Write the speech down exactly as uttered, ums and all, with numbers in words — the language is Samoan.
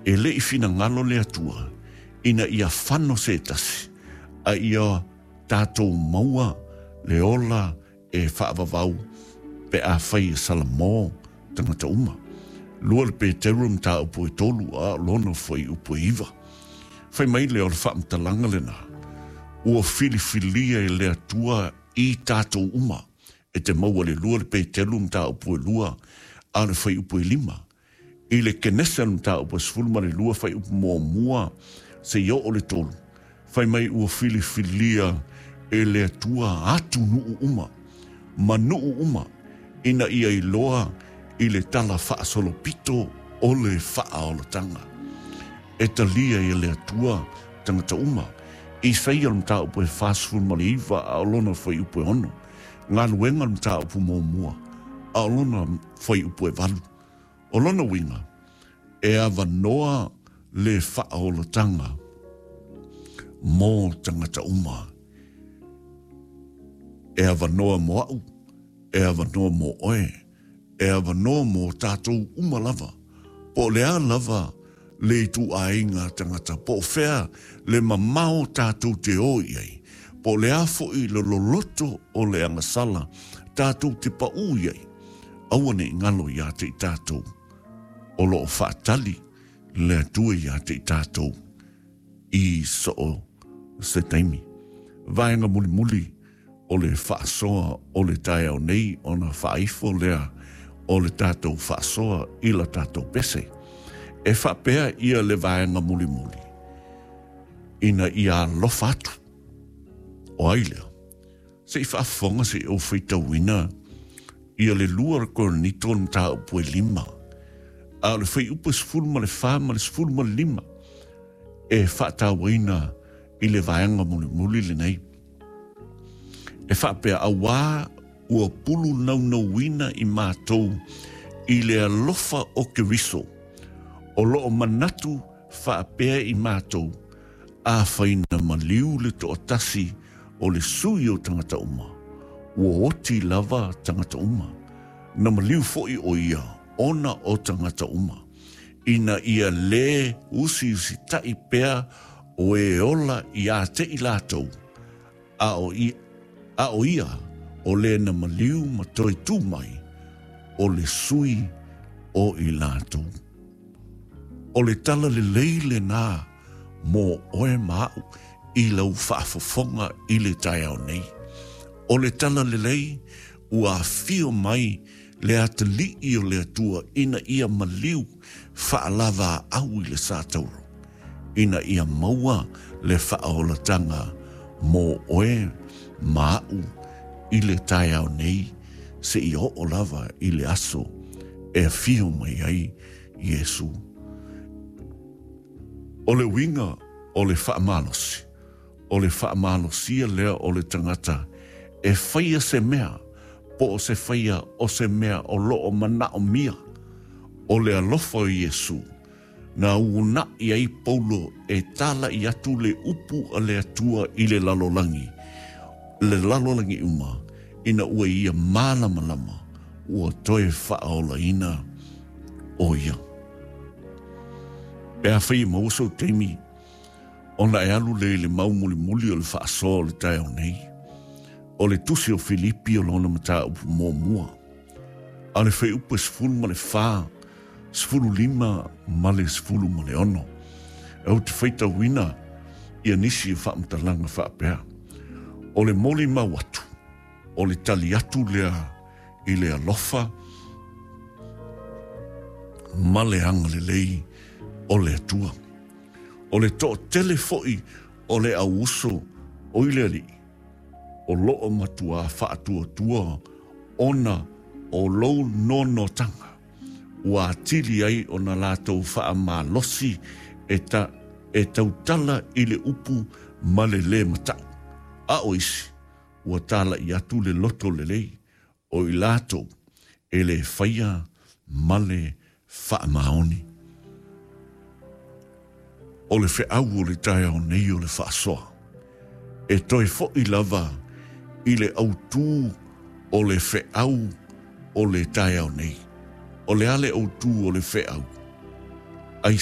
E le i finagalo le Atua ina ia fano se tasi, a ia tātou maua le ola e whaavavau pe a whai e Salamo tangata uma. Lua le Peteru mataupu e tolu a lona fuaiupu e iva. Fai mai lea o le faamatalaga lena. Ua filifilia e le Atua i tātou uma. E te maua le lua le Peteru mataupu e lua a le fuaiupu e lima. I le Kenesa le mataupu e sefulu ma le lua fuaiupu muamua seia oo le tolu. Fai mai ua filifilia e le Atua atunuu uma, ma nuu uma, ina ia iloa i le tala faasolopito o le faaolataga. E talia e le Atua tagata uma. Isaia le mataupu e fasefulu ma le iva a o lona fuaiupu e ono. Galuega le mataupu muamua a o lona fuaiupu e valu. O lona uiga, e avanoa le faaolataga mo tagata uma. E avanoa mo au, e avanoa mo oe, e avanoa mo tātou uma lava. Po o le a lava le ituaiga tagata, po o fea le mamao tātou te o i ai, po o le a foi le loloto o le agasala tātou te paū i ai, aua ne i galo iā te i tātou. O lo o faatali le Atua iā te i tātou i so o se taimi. Vaega mulimuli o le faasoa o le taeao nei ona faaifo lea o le tātou faasoa i la tātou pese. E faapea ia le vaega mulimuli ina ia alofa atu. O ai lea? Se i faafofoga se i ou faitauina ia le lua o Korinito le mataupu e lima. A o le fuaiupu e sefulu ma le fa ma le sefulu ma le lima e faatauaina i le vaega mulimuli lenei. E faapea auā ua pulu naunauina i matou i le alofa o Keriso, o loo manatu faapea i matou, afai na maliu le toatasi o le sui o tagata uma, ua oti lava tagata uma. Na maliu foi o ia ona o tagata uma, ina ia lē usiusitaʻi pea o e ola iā te i latou, a o ia, a o ia o le na maliu ma toe tū mai o le sui o i latou. O le tala lelei lenā mo oe ma au i lau faafofoga i le taeao nei. O le tala lelei ua afio mai le atalii o le Atua ina ia maliu faalavaau i le satauro, ina ia maua le faaolataga mo oe ma au i le taeao nei seia oo lava i le aso e afio mai ai Iesu. O le uiga o le faamalosi, o le faamalosia lea o le tagata e faia se mea, po o se faia o se mea o loo manaomia. O le alofa o Iesu, na uunai ai Paulo e talaʻi atu le upu a le Atua i le lalolagi, le lalolagi uma, ina ua ia malamalama, ua toe faaolaina o ia. Pe afai e maua sou taimi, ona e alu lea i le mau mulimuli o le faasoa o le taeao nei, o le tusi o Filipi o lona mataupu muamua, a le fuaiupu e sefulu ma le fa, sefulu lima ma le sefulu ma le ono. Ou te faitauina ia nisi o faamatalaga faapea. O le molimau atu, o le tali atu lea i le alofa ma le agalelei o le Atua. O le toatele foi o le auuso o i le Alii, o loo matuā faatuatua ona o lou noanoataga, ua atili ai ona latou faamalosi e, ta, e tautala i le upu ma le lē mataʻu. A o isi, ua talaʻi atu le loto lelei, o i latou e lē faia ma le faamaoni. O le feau o le taeao nei o le faasoa, e toe foʻi lava i le autū o le feau o le taeao nei. O le a le autū o le feau? Ai